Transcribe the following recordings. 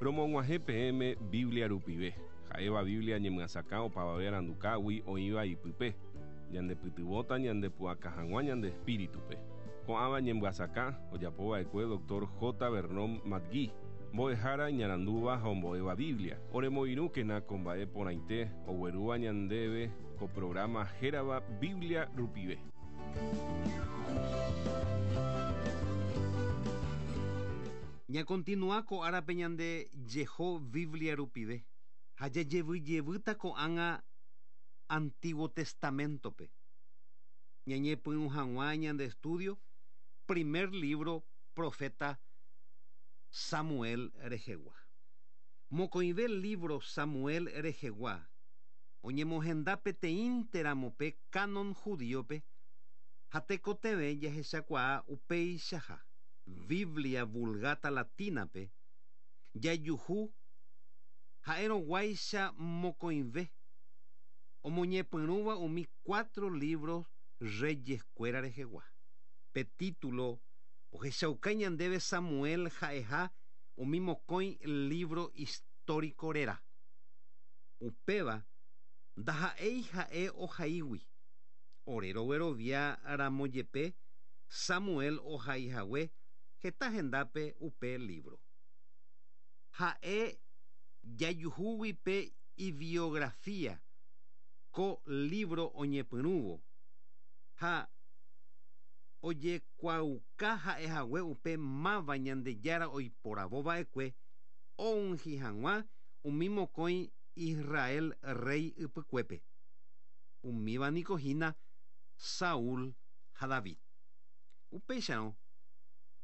Romog̃uahẽ peẽme Biblia rupive, ha'éva Biblia ñemyasakã opavave arandukágui oĩva ipype, ñandepytyvõta ñandepu'aka hag̃ua ñande espíritupe. Ko'ãva ñemyasakã ojapova'ekue Dr. J. Vernon McGee, mbo'ehára iñarandúva ha ombo'éva Biblia. Oremoirũkena ko mba'e porãite oguerúva ñandéve ko programa hérava Biblia rupive. Ñakontinua ko árape ñande jeho Biblia rupive ha jajevyjevýta ko'ág̃a Antiguo Testamento-pe. Ñañepyrũ hag̃ua ñande estudio primer libro profeta Samuel rehegua. Mokõive libro Samuel rehegua oñemohenda peteĩnteramo pe canon judío-pe ha tekotevẽ jahechakuaa upeichaha. Biblia Vulgata Latina-pe jajuhu ha'erõguáicha mokõive omoñepyrũva umi cuatro libros Reyes-kuéra rehegua. Pe título ohechauka ñandéve Samuel ha'eha umi mokõi libro histórico réra. Upéva ndaha'éi ha'e ohaígui. Ore roguerovia ramo jepe Samuel ohaihague heta hendápe upe libro. Ha'e jajuhúgui pe ibiografía ko libro oñepyrũvo ha ojekuaauka ha'ehague upe máva Ñandejára oiporavova'ekue ounhi hag̃ua umi mokõi Israel rey ypykuépe. Umíva niko hína Saúl ha David. Upéicharõ,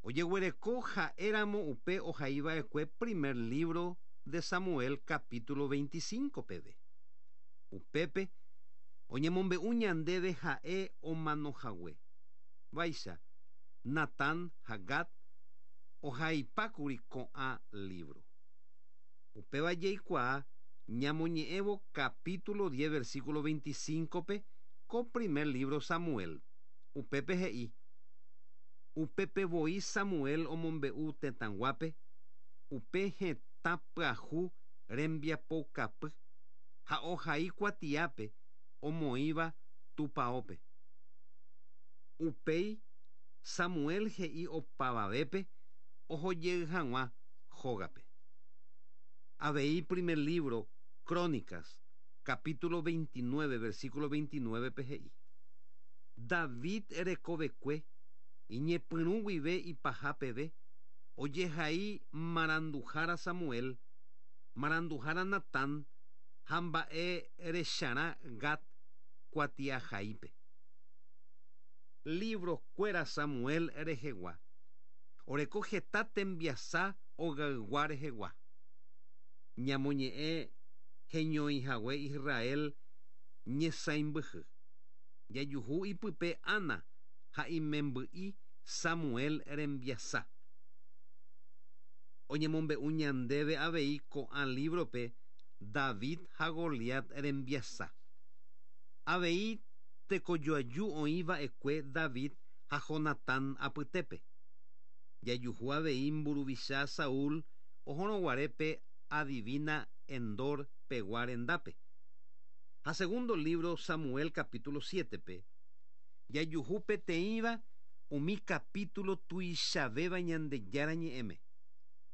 ojeguereko ha'éramo upe ohaiva'ekue primer libro de Samuel capítulo 25 peve. Upépe oñemombe'u ñandéve ha'e omanohague. Vaicha, Natán ha Gad ohaipákuri ko'ã libro. Upéva jaikuaa ñamoñe'ẽvo capítulo 10 versículo 25-pe ko primer libro Samuel. Upépe he'i: Upépe voi Samuel omombe'u tetãguápe, upe hetã pyahu rembiapoukapy ha ohai kuatiápe omoĩva tupaópe. Upéi Samuel he'i opavavépe ohojey hag̃ua hógape. Avei primer libro Crónicas, capítulo 29, versículo 29-pe he'i: David rekovekue iñepyrũ guive ipaha peve ojehai maranduhára Samuel, maranduhára Natán ha mba'e recharã Gad kuatiahaípe. Libro-kuéra Samuel rehegua oreko heta tembiasa ogaygua rehegua. Ñamoñe'ẽ heñoihague Israel ñesãimbyhy. Jajuhu ipype Ana ha imemby'i Samuel rembiasa. Oñemombe'u ñandéve avei ko'ã libro-pe David ha Goliat rembiasa. Avei tekojoaju oĩva'ekue David ha Jonatán apytépe. Jajuhu avei mburuvicha Saúl ohorõguare pe adivina Endor pegua rendápe. Ha segundo libro Samuel capítulo 7-pe, jajuhu peteĩva umi capítulo tuichavéva Ñandejára ñe'ẽme.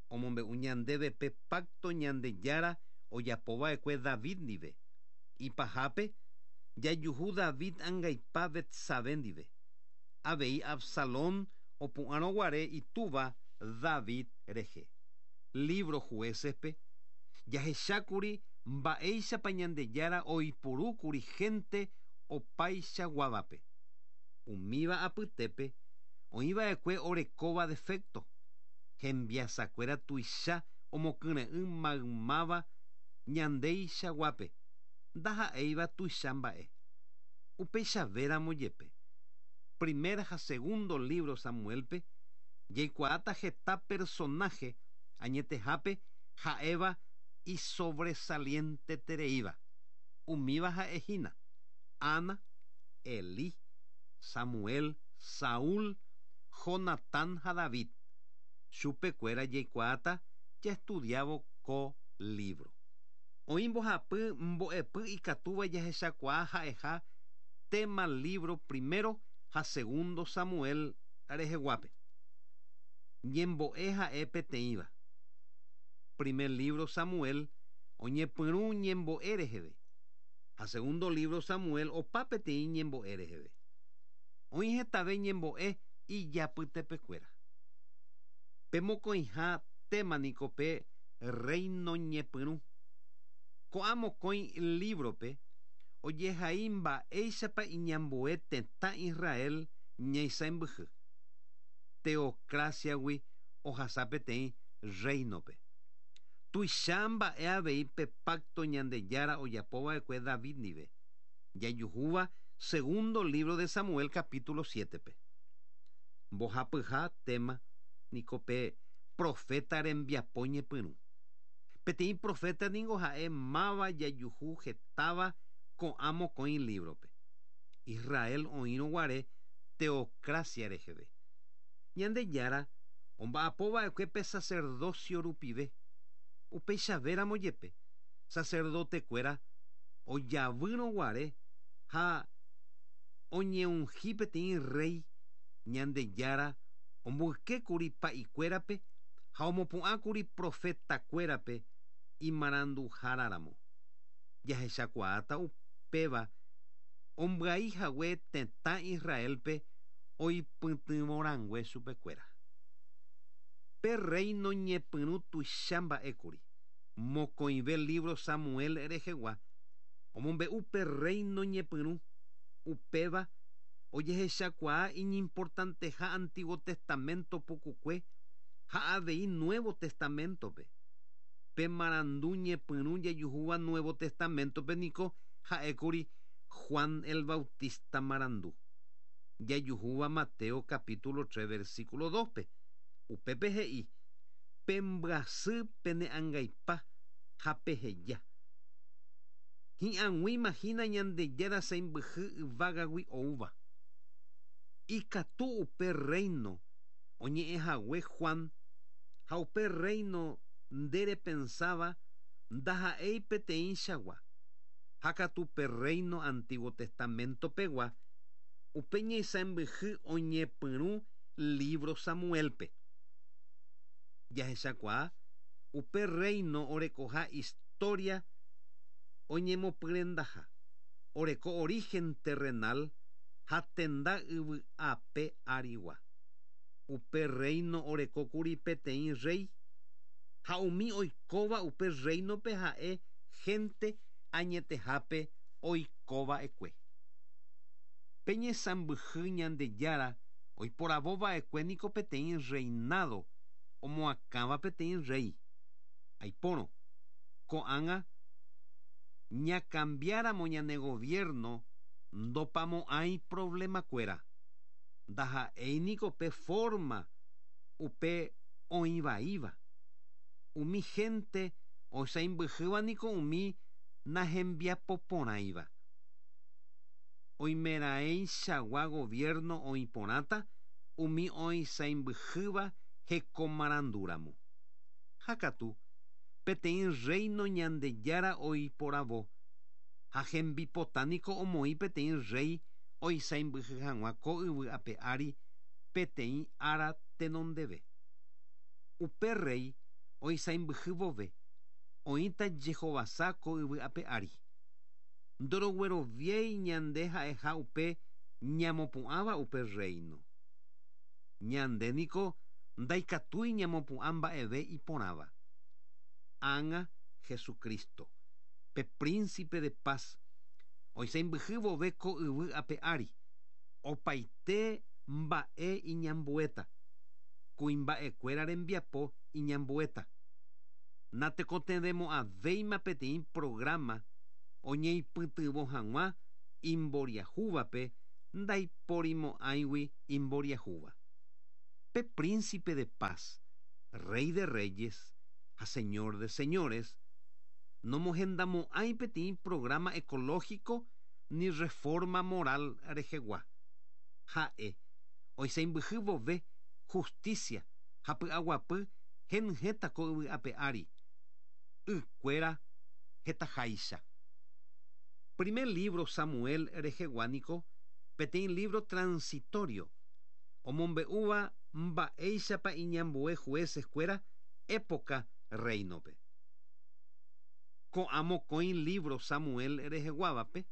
Omombe'u ñandéve pe pacto Ñandejára ojapova'ekue David ndive. Ipahápe, jajuhu David angaipa Betsabé ndive. Avei Absalón opu'ãrõguare itúva David rehe. Libro Jueces-pe, jahechákuri mba'éichapa Ñandejára oipurúkuri gente opaichaguávape. Umíva apytépe oĩva'ekue orekóva defecto, hembiasakuéra tuicha omokyre'ỹ maymáva ñandeichaguápe, ndaha'éiva tuicha mba'e. Upeichavéramo jepe, primer ha segundo libro Samuel-pe jaikuaáta heta personaje añetehápe ha'éva isobresalientetereíva. Umíva ha'ehína Ana, Elí, Samuel, Saúl, Jonatán ha David. Chupekuéra jaikuaáta Jaestudiávo ko lívro. Oĩ mbohapy mbo'epy ikatúva jahechakuaa ha'eha téma lívro Primero ha Segundo Samuel reheguápe. Ñembo'e ha'e peteĩva. Primer lívro Samuel oñepyrũ ñembo'e reheve, ha segundo lívro Samuel opa peteĩ ñembo'e reheve. Oĩ hetave ñembo'e ijapytepekuéra. Pe mokõiha téma niko pe Rréino ñepyrũ. Ko'ã mokõi lívrope ojehai mba'éichapa iñambue tetã Israel ñaisãimbyhy. Teocracia-gui ohasa peteĩ rréinope. Tuicha mba'e avei pe pákto Ñandejára ojapova'ekue David ndive, jajuhúva segundo lívro de Samuel capítulo siétepe. Mbohapyha téma niko pe proféta rembiapo ñepyrũ. Peteĩ proféta ningo ha'e máva jajuhu hetáva ko'ã mokõi lívrope. Israel oĩrõ guare teocracia reheve. Ñandejára omba'apo va'ekue pe sacerdocio rupive. Upeichavéramo jepe, sacerdote-kuéra ojavýrõ guare ha oñeunhi peteĩ rréi, Ñandejára omboykékuri pa'ikuérape ha omopu'ãkuri profetakuérape imaranduháraramo. Jahechakuaáta upéva ombyai hague tetã Israélpe oipytyvõrangue chupekuéra. Pe rréino ñepyrũ tuicha mba'ékuri. Mokõive lívro Samuel rehegua omombe'u pe rréino ñepyrũ, upéva ojehechakuaa iñimportanteha Antiguo Testamento pukukue ha avei Nuevo Testaméntope. Pe marandu ñepyrũ jajuhúva Nuevo Testaméntope niko ha'ékuri Juan el Bautista marandu, jajuhúva Mateo capítulo tres versículo dóspe. Upépe he'i, Pembyasy pene angaipa ha peheja. Hi'ag̃uíma hína Ñandejára sãimbyhy yvágagui oúva. Ikatu upe rréino oñe'ẽ hague Juan ha upe rréino nde repensáva ndaha'éi peteĩchagua, ha katu pe rréino Antiguo Testamento pegua, upe ñaisãimbyhy oñepyrũ lívro Samuélpe. Jahechakuaa upe rréino orekoha istória oñemopyrendaha, oreko origen terrenal ha tenda yvy ape árigua. Upe rréino oreko kuri peteĩ rréi, ha umi oikóva upe rréinope ha'e hénte añetehápe oikova'ekue. Pe ñesãmbyhy Ñandejára oiporavo va'ekue niko peteĩ rreinádo omoakãva peteĩ rréi. Aipórõ, ko'ág̃a ñakambiáramo ñane goviérno ndopamo'ãi provlemakuéra. Ndaha'éi niko pe fórma upe oĩ vaíva. Umi hénte oisãimbyhýva niko umi nahembiapoporãiva. Oimeraẽichagua goviérno oĩ porãta umi oisãimbyhýva hekomarandúramo. Ha katu, peteĩ rréino Ñandejára oiporavo, ha hembipota niko omoĩ peteĩ rréi oisãimbyhy hag̃ua ko yvy ape ári peteĩ ára tenondeve. Upe rréi oisãimbyhy vove, oĩta jehovasa ko yvy ape ári. Ndorogueroviéi ñande ha'eha upe ñamopu'ãva upe rréino. Ñande niko ndaikatúi ñamopu'ã mba'eve iporãva. Ág̃a Jesucristo, pe Príncipe de Paz, oisãimbyhy vove ko yvy ape ári, opaite mba'e iñambuéta, kuimba'ekuéra rembiapo iñambuéta. Natekotevẽmo'ãvéima peteĩ programa oñeipytyvõ hag̃ua imboriahúvape ndaiporimo'ãigui imboriahúva. Pe Príncipe de Paz, Rey de Reyes ha Señor de Señores, nomohendamo'ãi peteĩ programa ecológico ni reforma moral rehegua. Ha'e, oisãimbyhy vove justicia ha py'aguapy Henyhẽta ko yvy ape ári, ykuéra hetaháicha. Primer libro Samuel rehegua niko peteĩ libro transitorio, omombe'úva mba'éichapa iñambue jueces-kuéra época reino-pe. Ko'ã mokõi libro Samuel reheguávape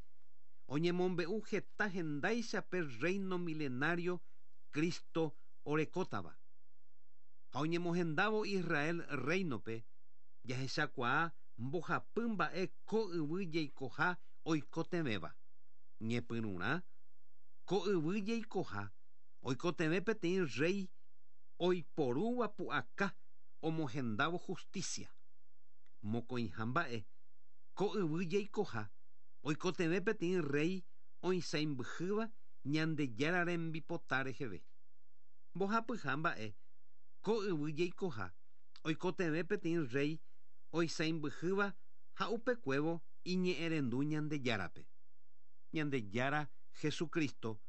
oñemombe'u heta hendáicha pe reino milenario Cristo orekótava. Ha oñemohendávo Israel reino-pe, jahechakuaa mbohapy mba'e ko yvy jeikoha oikotevẽva. Ñepyrũrã, ko yvy jeikoha oikotevẽ peteĩ rey oiporúva pu'aka omohendávo justicia. Mokõiha mba'e, ko yvy jeikoha oikotevẽ peteĩ rey oisãimbyhýva Ñandejára rembipota reheve. Mbohapyha mba'e, ko yvy jeikoha oikotevẽ peteĩ rey oisãimbyhýva ha upekuévo iñe'ẽrendu Ñandejárape. Ñandejára Jesucristo,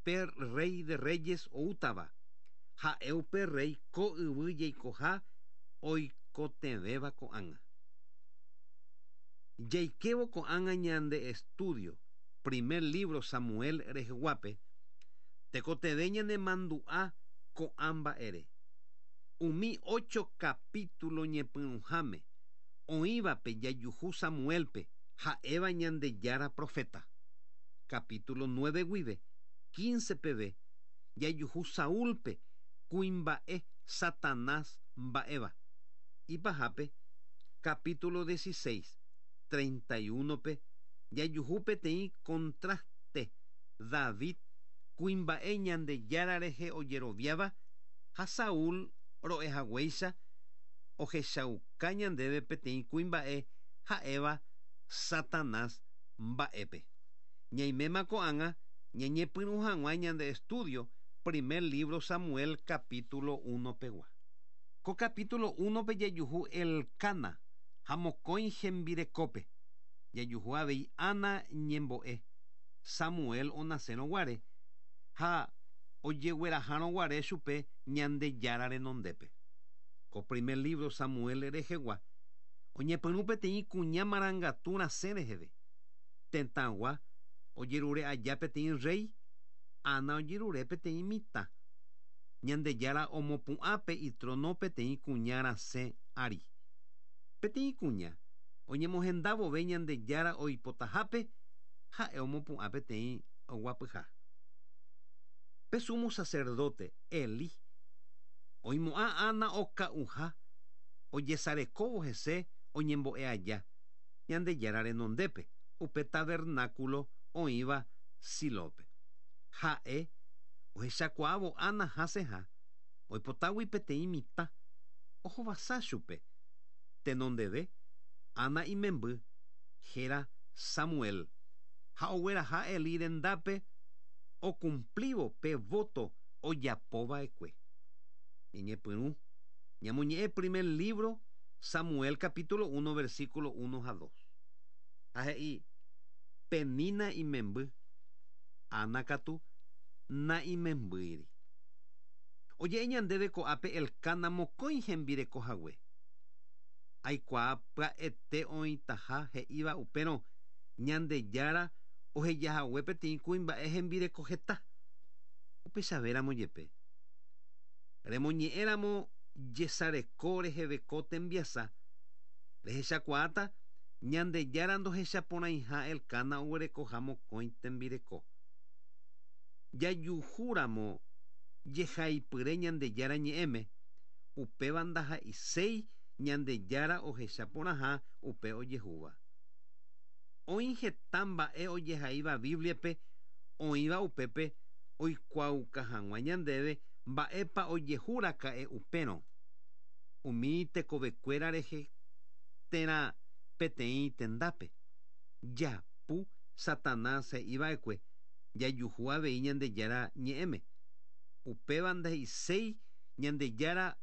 pe Rey de Reyes oútava, ha'e upe rey ko yvy jeikoha oikotevẽva ko'ág̃a. Jaikévo ko'ág̃a ñande estudio primer libro Samuel reheguápe, tekotevẽ ñanemandu'a ko'ã mba'ére. Umi ocho capítulo ñepyrũháme oĩvape jajuhu Samuel-pe ha'éva Ñandejára profeta. Capítulo 9 guive 15 peve jajuhu Saúl-pe kuimba'e Satanás mba'éva. Ipahápe, capítulo 16, 31-pe jajuhu peteĩ contraste David kuimba'e Ñandejára rehe ojeroviáva ha Saúl ro'ehaguéicha ohechauka ñandéve peteĩ kuimba'e ha'éva Satanás mba'épe. Ñaiméma ko'ág̃a ñañepyrũ hag̃ua ñande estudio primer libro Samuel capítulo 1 pegua. Ko capítulo 1-pe jajuhu Elcana ha mokõi hembirekópe. Jajuhu avei Ana ñembo'e, Samuel onasérõ guare ha ojeguerahárõ guare chupe Ñandejára renondépe. Ko primer libro Samuel rehegua oñepyrũ peteĩ kuña marangatu rasẽ reheve. Tetãgua ojerure aja peteĩ rey, Ana ojerure peteĩ mitã. Ñandejára omopu'ã pe itrono peteĩ kuña rasẽ ári. Peteĩ kuña oñemohenda vove Ñandejára oipotahápe, ha'e omopu'ã peteĩ oguapyha. Pe sumo sacerdote, Elí, oimo'ã Ana oka'uha ojesarekóvo hese oñembo'e aja Ñandejára renondépe upe tabernáculo oĩva Silópe. Ha'e ohechakuaávo Ana hasẽha oipotágui peteĩ mitã, ohovasa chupe. Tenondeve, Ana imemby héra Samuel, ha ogueraha Elí rendápe okumplívo pe voto ojapo va'ekue. Ñañepyrũ ñamoñe'ẽ primer libro Samuel capítulo 1 versículo 1 ha 2. Ha he'i, Penina imemby, Ana katu na'imembýiri. Oje'e ñandéve ko'ápe Elcana mokõi hembireko hague. Aikuaa pya'ete oĩtaha he'íva upérõ Ñandejára ohejahague peteĩ kuimba'e hembireko heta. Upechavéramo jepe, remoñe'ẽramo jesareko reheve ko tembiasa, rehechakuaáta Ñandejára ndohechaporãiha Elcana oguerekoha mokõi tembireko. Jajuhúramo jehaipyre Ñandejára ñe'ẽme, upéva ndaha'eiséi Ñandejára ohecha porãha upe ojehúva. Oĩ heta mba'e ojehaíva Bíbliape oĩva upépe oikuaauka hag̃ua ñandéve mba'épa ojehu raka'e upérõ, umi tekovekuéra rehe térã peteĩ tendápe. Japu Satanás he'i va'ekue jajuhu avei Ñandejára ñe'ẽme. Upéva nde'iséi Ñandejára